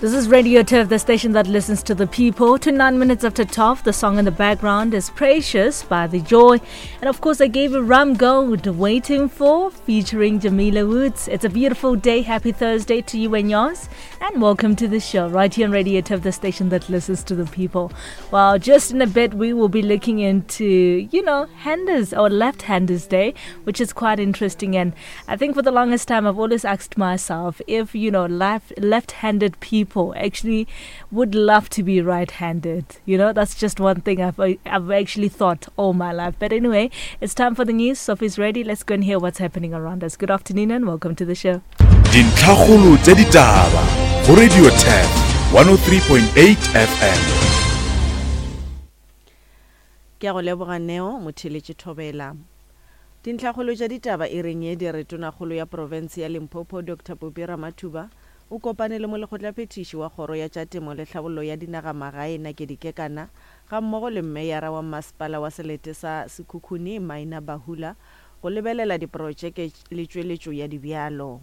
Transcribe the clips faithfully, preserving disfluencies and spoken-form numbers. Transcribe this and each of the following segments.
This is Radio Turf, the station that listens to the people. To nine minutes after twelve, the song in the background is Precious by The Joy. And of course, I gave a Rum Gold, Waiting For, featuring Jamila Woods. It's a beautiful day. Happy Thursday to you and yours. And welcome to the show right here on Radio Turf, the station that listens to the people. Well, just in a bit, we will be looking into, you know, handers or left-handers day, which is quite interesting. And I think for the longest time, I've always asked myself if, you know, left, left-handed people actually would love to be right-handed. You know, that's just one thing I've, I've actually thought all my life. But anyway, it's time for the news. Sophie's ready. Let's go and hear what's happening around us. Good afternoon and welcome to the show. Dintlhakgolo tša ditaba go Radio Turf one oh three point eight F M. Ke a go leboga Neo motheletše Thobela. Dintlhakgolo tša ditaba e reng ye di re tonakgolo ya province ya Limpopo Doctor Phophi Ramathuba o kopane le molekgotlaphethiši wa kgoro ya tša temo le tlhabollo ya dinagamagae Nakedi Kekana ga mmogo le mmeyara wa masepala wa selete sa Sekhukhune Maina Bahula go lebelela diprojeke le tšweletšo ya dibjalo.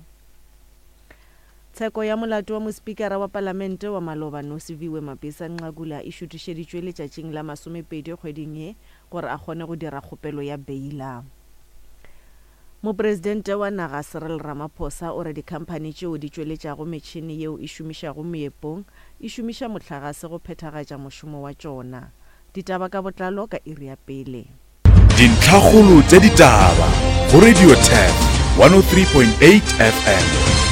Tsheko ya molato wa mospikara wa palamente wa maloba Nosiviwe Mapisa Nqakula e šutišeditšwe letšatšing la masomepedi kgweding ye gore a kgone go dira kgopelo ya beila. Mopresidente wa naga Cyril Ramaphosa o re dikhamphani tšeo di tšweletšago metšhene yeo e šomišago meepong e šomiša mohlagase go phethagatša mošomo wa tšona. Ditaba ka botlalo ka iri ya pele. Dintlhakgolo tša ditaba go Radio Turf one oh three point eight F M.